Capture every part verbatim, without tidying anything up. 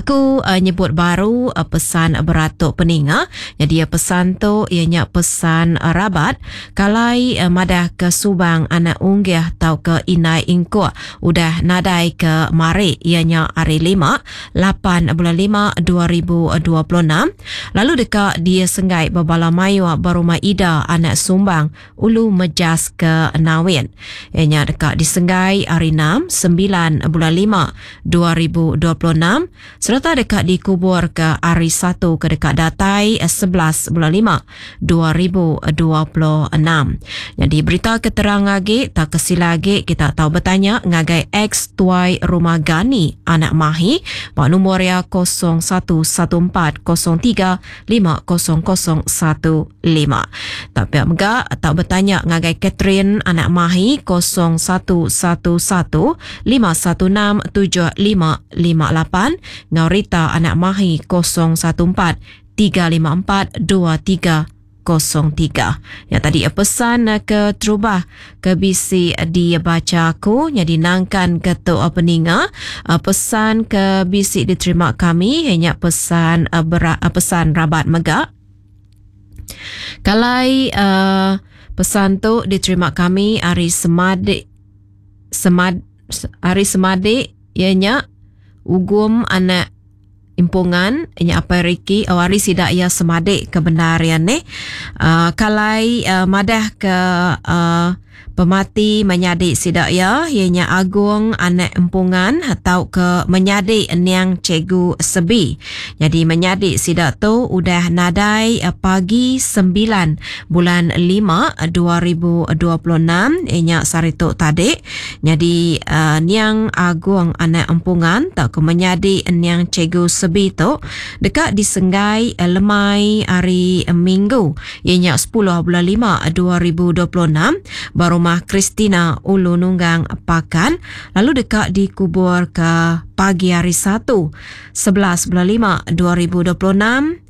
Aku uh, nyebut baru uh, pesan berat tu peninga. Jadi uh, pesan tu ianya pesan uh, rabat kalai uh, madah ke Subang anak Unggih tau ke Inai Ingkuk udah nadai ke mari ianya hari lima lapan bulan lima dua ribu dua puluh enam lalu deka dia senggai bebala mayu berumah Ida anak Sumbang Ulu Mejas ke Nawin. Ianya deka disenggai hari enam sembilan bulan lima dua ribu dua puluh enam serta deka dikubur ke hari satu ke deka datai sebelas bulan lima dua ribu dua puluh enam. Jadi berita keterang lagi tak kesila lagi kita tahu bertanya ngagai ex tuai rumah Gani anak Mahi pak nombor ya kosong satu satu empat kosong tiga lima kosong kosong satu lima. Tak pihak mega tak bertanya ngagai Catherine anak Mahi kosong satu satu satu lima satu enam tujuh lima lima lapan ngau Rita anak Mahi kosong satu empat tiga lima empat dua tiga kosong tiga. Ya tadi pesan ke terubah ke bisi dibaca aku jadi nangkan ke tu peninga pesan ke bisi diterima kami hanya pesan berat, pesan rabat mega. Kalai uh, pesan tu diterima kami hari semadik semad hari semadik ianya Ugum anak Impungan inya apa Ricky oh hari sidak ia semadik kebenaran ni uh, kalai uh, madah ke uh, pemati menyadik sidak ia ianya Agung anak Empungan atau ke menyadik niang Cikgu Sebi. Jadi menyadik sidak tu udah nadai pagi sembilan bulan lima dua ribu dua puluh enam ianya sehari tu tadi. Jadi uh, niang Agung anak Empungan atau ke menyadik niang Cikgu Sebi tu dekat disenggai lemai hari Minggu ianya sepuluh bulan lima dua ribu dua puluh enam baru rumah Christina Ulu Nunggang Pakan lalu dekat dikubur ke pagi hari Satu sebelas bulan lima dua ribu dua puluh enam.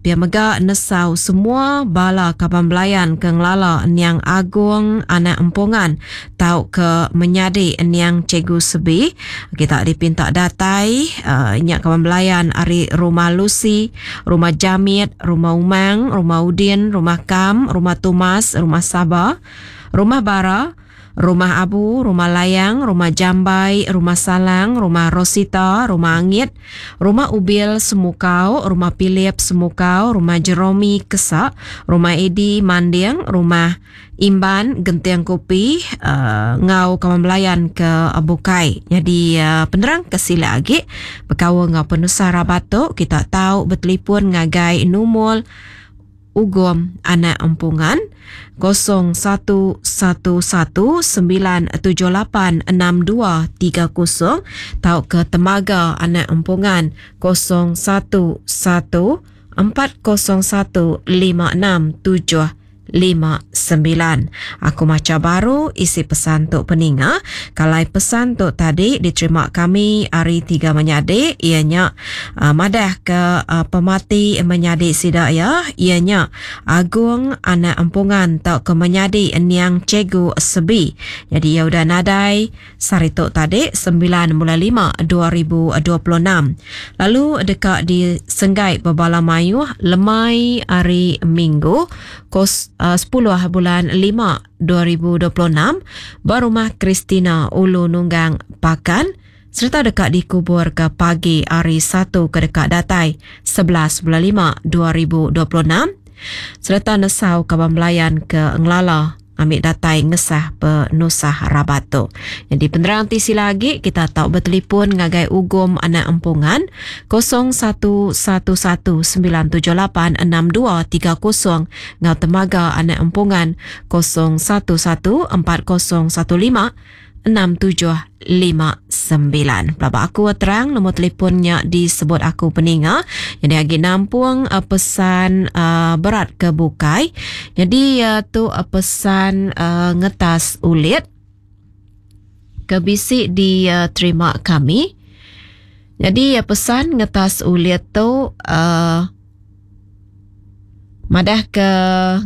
Pia mega nesau semua bala kaban belayan ke ngelala niang Agung anak Empungan tau ke menyadik niang Cikgu Sebi. Kita dipinta datai uh, nyak kaban belayan ari rumah Lucy, rumah Jamit, rumah Umang, rumah Udin, rumah Kam, rumah Tumas, rumah Sabah, rumah Bara, rumah Abu, rumah Layang, rumah Jambai, rumah Salang, rumah Rosita, rumah Angit, rumah Ubil Semukau, rumah Philip Semukau, rumah Jeromi Kesak, rumah Edi Manding, rumah Imban Gentiang Kopi, uh, ngau kawan belayan ke Bukai. Jadi uh, penerang ke sila lagi berkawan ngau penusa rabat tu kita tahu bertelefon ngagai numul Ugum anak Empungan kosong satu satu satu sembilan tujuh lapan enam dua tiga kosong tau ke Temaga anak Empungan kosong satu satu empat kosong satu lima enam tujuh lima sembilan. Aku maca baru isi pesan tok peninga. Kalau pesan tok tadi diterima kami hari tiga menyadik ianya uh, madah ke uh, pemati menyadik sidak ya ianya Agung anak Empungan tau ke menyadik niang Cikgu Sebi. Jadi ia udah nadai sehari tok tadi sembilan bulan lima dua ribu dua puluh enam. Lalu dekat di Senggai Bebala Mayuh lemai hari Minggu kos uh, sepuluh bulan lima dua ribu dua puluh enam berumah Christina Ulu Nunggang Pakan serta dekat dikubur ke pagi hari Satu ke dekat datai sebelas bulan lima dua ribu dua puluh enam serta nesau kaban belayan ke Ngelala ambil datai ngesah penusah rabat tu. Jadi penerang tisi lagi kita tahu bertelefon ngagai Ugum anak Empungan kosong satu satu satu sembilan tujuh lapan enam dua tiga kosong ngau Temaga anak Empungan kosong satu satu empat kosong satu lima enam tujuh lima sembilan. Pelabak aku terang nombor telefonnya disebut aku peninga. Jadi agi nampung uh, pesan uh, berat ke bukai. Jadi uh, tu uh, pesan uh, ngetas ulit ke bisi diterima uh, kami. Jadi uh, pesan ngetas ulit tu uh, madah ke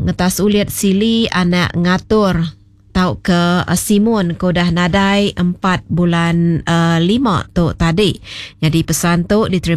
ngetas ulit sili anak ngatur tau ke Simun ke dah nadai empat bulan uh, lima tu tadi. Jadi pesan tu diterima